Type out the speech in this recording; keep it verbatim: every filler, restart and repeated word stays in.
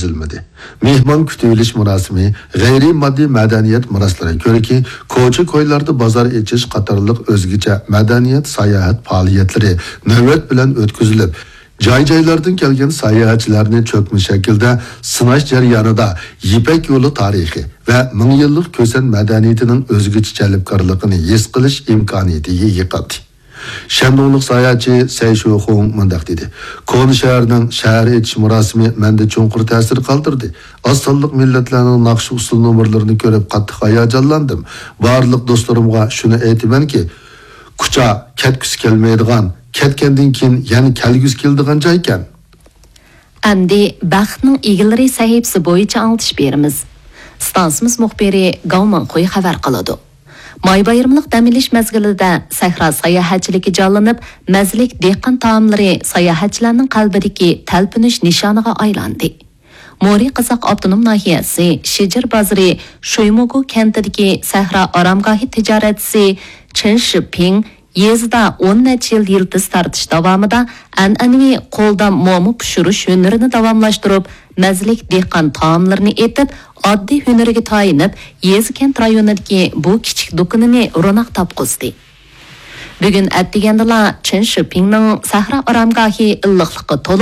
ئۆتكۈزۈلمىدى. مېھمان كۈتۈۋېلىش مۇراسىمى، غەيرىي ماددىي مەدەنىيەت مۇراسلىرى كۆرىكى، كوچا-كويلاردا بازار ئېچىش قاتارلىق ئۆزگىچە مەدەنىيەت، ساياھەت پائالىيەتلىرى نۆۋەت بىلەن ئۆتكۈزۈلۈپ، جاي-جايلاردىن كەلگەن ساياھەتچىلەرنى چۆكمە شەكىلدە سىناش جەريانىدا يىپەك يولى تارىخى ۋە مىڭ يىللىق كۈسەن مەدەنىيىتىنىڭ ئۆزگىچە جەلپكارلىقىنى ھېس قىلىش ئىمكانىيىتىگە ئىگە قىلدى. شەندۇڭلۇق ساياھەتچى سەي شۇخۇڭ مۇنداق دېدى: «كونا شەھەرنىڭ شەھەر ئېچىش مۇراسىمى مەندە چوڭقۇر تەسىر قالدۇردى. ئاز سانلىق مىللەتلەرنىڭ ناخشا-ئۇسسۇل نومۇرلىرىنى كۆرۈپ قاتتىق ھاياجانلاندىم. بارلىق دوستلىرىمغا شۇنى ئېيتىمەنكى، كۇچا كەتكۈسى كەلمەيدىغان، كەتكەندىن كېيىن يەنە كەلگۈسى كېلىدىغان جايكەن.» ئەمدى بەختنىڭ ئىگىلىرى سەھىپىسى بويىچە ئاڭلىتىش بېرىمىز. ئىستانسىمىز مۇخبىرى گاۋ مىڭخۇي خەۋەر قىلىدۇ. ماي بايرىملىق دەم ئېلىش مەزگىلىدە سەھرا ساياھەتچىلىكى جانلىنىپ، مەززىلىك دېھقان تائاملىرى ساياھەتچىلەرنىڭ قەلبىدىكى تەلپۈنۈش نىشانىغا ئايلاندى. مورى قازاق ئاپتونوم ناھىيەسى شىجىر بازىرى شۇيمۇگۇ كەنتىدىكى سەھرا ئارامگاھى تىجارەتچىسى چېن شىپىڭ يېزىدا ئون نەچچە يىل يىلتىز تارتىش داۋامىدا ئەنئەنىۋى قولدا موما پىشۇرۇش ھۈنىرىنى داۋاملاشتۇرۇپ، مەززىلىك دېھقان تائاملىرىنى ئېتىپ، ئاددىي ھۈنىرىگە تايىنىپ، يېزا-كەنت رايونىدىكى بۇ كىچىك دۇكىنىنى روناق تاپقۇزدى. بۈگۈن ئەتىگەندىلا چېن شىپىڭنىڭ سەھرا ئارامگاھى ئىللىقلىققا تولۇپ،